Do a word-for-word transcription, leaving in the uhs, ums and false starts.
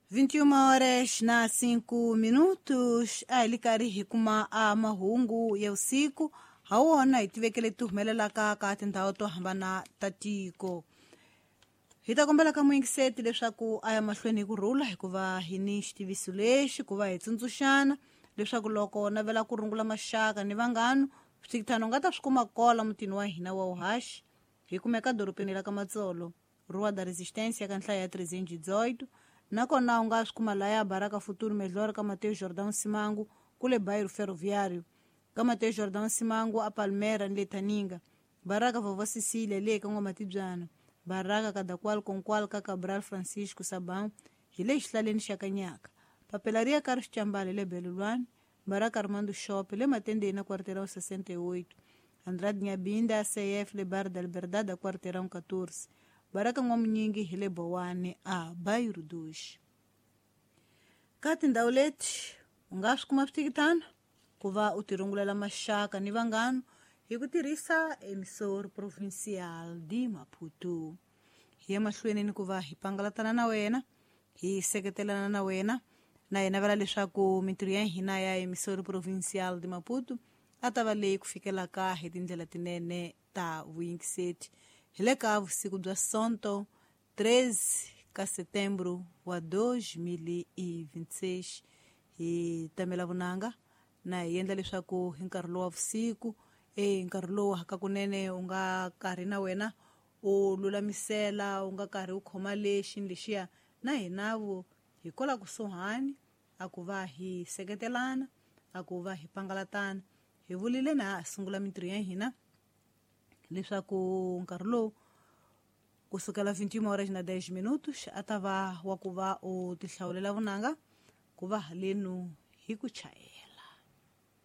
vinte e uma horas na cinco minutos a hi li karhi hi kuma a mahungu ya vusiku ha wona hi tivekele ti humelelaka ka tindhawu to hambana ta tiko. Hi ta kombela ka muyingiseti leswaku a ya mahlweni hi ku rhula hikuva hi ni xitiviso lexi ku va hi tsundzuxana leswaku loko navela ku rungula maxaka ni vanghana swithano nga ta swi kuma kola mutini wa hina wa Uhashi hi kumeka dorobeni la ka Matsolo Rua da Resistência ka nhlayo ya trezentos e dezoito nakona u nga swi kuma laya Baraka Futuro Melhor ka Mateus Jordão Simango kule bairro Ferroviário ka Mateus Jordão Simango a Palmeiras ni le Taninga Baraka Vovó Cecília le ka N'wamatibyana Baraka Kadakwal Konkwal ka Cabral Francisco Sabão hi le xihlaleni xa Kanyaka Papelaria Carlos Chambale le Belulwani Baraka Armando Shop le Matendeni na quarteirão sessenta e oito Andrade Nhabinda C F le Bar da Liberdade a quarteirão catorze Baraka N'wamunyingi hi le Bowane a Bairro dois. Ka tindhawu leti u nga swi kuma switikitano ku va u tirungulela maxaka ni vanghana hi ku tirhisa Emissor Provincial de Maputo. Hi ya mahlweni ni ku va hi pangalatana na wena hi seketelana na wena na hi navela leswaku mintirho ya hina ya Emissor Provincial de Maputo a ta va leyi ku fikelaka hi tindlela tinene ta vuyingiseti. Hi le ka vusiku bya Sonto treze ka setembro wa dois mil e vinte e seis hi tamela vunanga na hi endla leswaku hi nkarhi lowu wa vusiku e nkarhi lowu hakakunene u nga karhi na wena u lulamisela u nga karhi u khoma lexi ni lexiya na hinavo hi kola kusuhani a ku va hi seketelana a ku va hi pangalatana. Hi vulile na sungula mintirho ya hina leswaku nkarhi lowu kusukela vinte e uma horas na dez minutos a ta va wa ku va u tihlawulela vunanga ku va halenu hi ku chayela.